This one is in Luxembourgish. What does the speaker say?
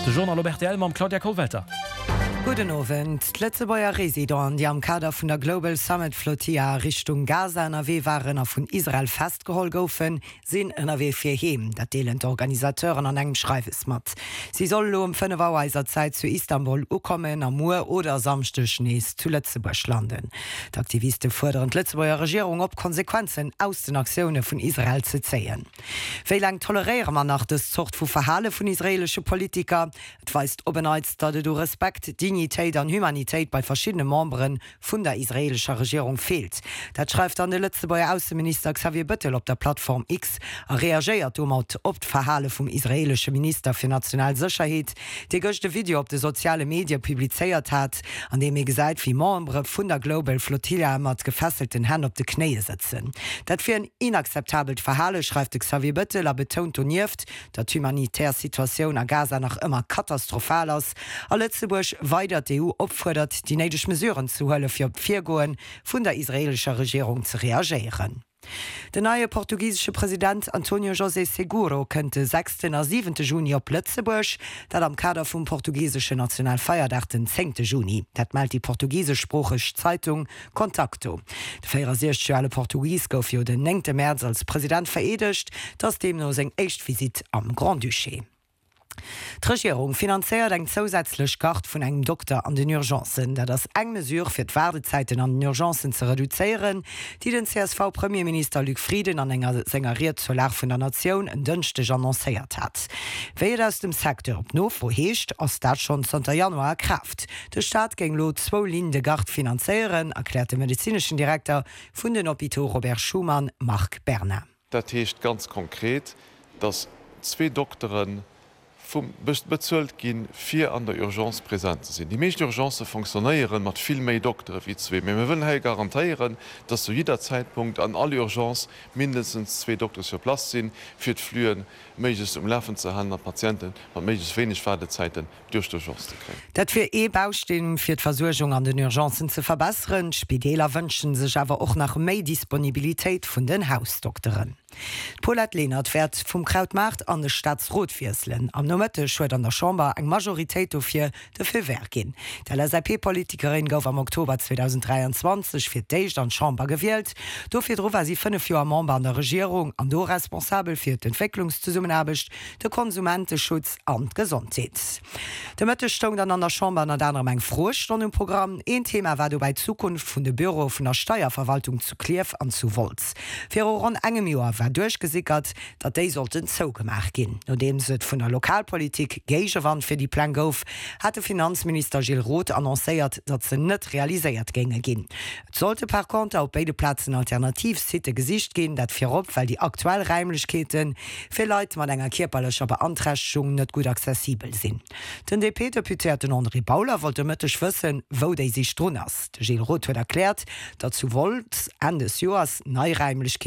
De Journal op rtl mam Claudia Kollwelter. Gudden Owend. D'Lëtzebuerger Residenten, déi am Kader vun der Global Summit Flotilla a Richtung Gaza ënnerwee waren a vun Israel festgeholl goufen, sinn ënnerwee fir heem. Dat deelen d'Organisateuren an engem Schreiwes mat. Si soll elo ëm 5 Auer eiser Zäit zu Istanbul ukommen a muer oder e Samschdeg nees zu Lëtzebuerg landen. D'Aktiviste fuerderen d'Lëtzebuerger Regierung op, Konsequenzen aus den Aktioune vun Israel ze zéien. Wéi laang toleréiere mer nach dës Zort vu Verhale vun israeelesche Politiker? Et weist op en Neits, datt et u Respekt, Dignitéit an Humanitéit bei verschiddene Membere vun der israeelescher Regierung feelt. Dat schreift dann de Lëtzebuerger Ausseminister Xavier Bëttel op der Plattform X a reagéiert domat op d'Verhale vum israeelesche Minister fir national Sécherheet, dee gëscht e Video op de soziale Medie publizéiert hat, an deem ee gesäit, wéi Membere vun der Global Flotilla mat gefesselten Hänn op de Knéie sëtzen. Dat wier en inakzeptabelt Verhale, schreift de Xavier Bëttel a betount donieft, datt d'humanitär Situatioun a Gaza nach ëmmer katastrophal ass a Lëtzebuerg weider d'EU opfuerdert, déi néideg Mesuren ze huele fir op d'Virgoe vun der israeelescher Regierung ze reagéieren. Den neie portugisesche President Antonio José Seguro kënnt de sechsten a siwente Juni op Lëtzebuerg, dat am Kader vum portugiseschen Nationalfeierdag den zéngte Juni. Dat mellt déi portugiseschsproocheg Zeitung Contacto. De 64 Joer ale Portugis gouf jo den néngte Mäerz als President vereedegt. Et ass deemno seng éischt Visitt am Grand-Duché. D'Regierung finanzéiert eng zousätzlech Garde vun engem Dokter an den Urgencen. Dat ass eng Mesure, fir d'Waardezäiten an den Urgencen ze reduzéieren, déi den CSV-Premierminister Luc Frieden an enger senger Ried zur Lag vun der Natioun en Dënschdeg annoncéiert hat. Wéi et aus dem Secteur op Nofro heescht, ass dat schonn zanter Januar a Kraaft. De Staat géing elo zwou Lignes de garde finanzéieren, erkläert de medezineschen Direkter vun den Hôpitaux Robert Schuman, Marc Berna. Dat heescht ganz konkret, datt zwee Doktere vum bezuelt ginn, fir an der Urgence present ze sinn. Déi meescht Urgencë fonctionnéiere mat vill méi Doktere wéi zwee, mä mir wëllen hei garantéieren, datt zu jidder Zäitpunkt an all Urgence mindestens zwee Doktere sur place sinn, fir d'Fluen méiglechst um Lafen ze halen an d'Patiente mat méiglechst wéineg Waardezäiten duerch d'Urgence ze kréien. Dat wier ee Bausteen, fir d'Versuergung an den Urgencen ze verbesseren. D'Spideeler wënsche sech awer och nach méi Disponibilitéit vun den Hausdokteren. D'Paulette Lenert wäert vum Krautmaart an de Staatsrot wiesselen. Am Nomëtteg huet an der Chamber eng Majoritéit dofir de Feu vert ginn. D'LSAP-Politikerin gouf am Oktober 2023 fir d'éischt an d'Chamber gewielt. Do virdru war si 5 Joer Member an der Regierung an do responsabel fir d'Entwécklungszesummenaarbecht, de Konsumenteschutz an d'Gesondheet. De Mëtteg stoung dann an der Chamber ënnert anerem eng Froestonn um Programm. Een Thema war dobäi d'Zukunft vun de Büroe vun der Steierverwaltung zu Klierf an zu Wolz. Viru ronn engem Joer war duerchgesickert, datt déi sollten zougemaach ginn. Nodeems et vun der Lokalpolitik Géigewand fir déi Pläng gouf, hat de Finanzminister Gilles Roth annoncéiert, datt se net realiséiert géinge ginn. Et sollte par conter op béide Plazen alternativ Sitte gesicht ginn, dat virop well déi aktuell Räimlechkeete fir Leit mat enger kierperlecher Beanträchtegung net gutt accessibel sinn. Den DP-Deputéierten André Bauler wollt de Mëtteg wëssen, wou déi Sich drun ass. De Gilles Roth huet erkläert, datt zu Wolz Enn des Joers nei Räimlechkeete.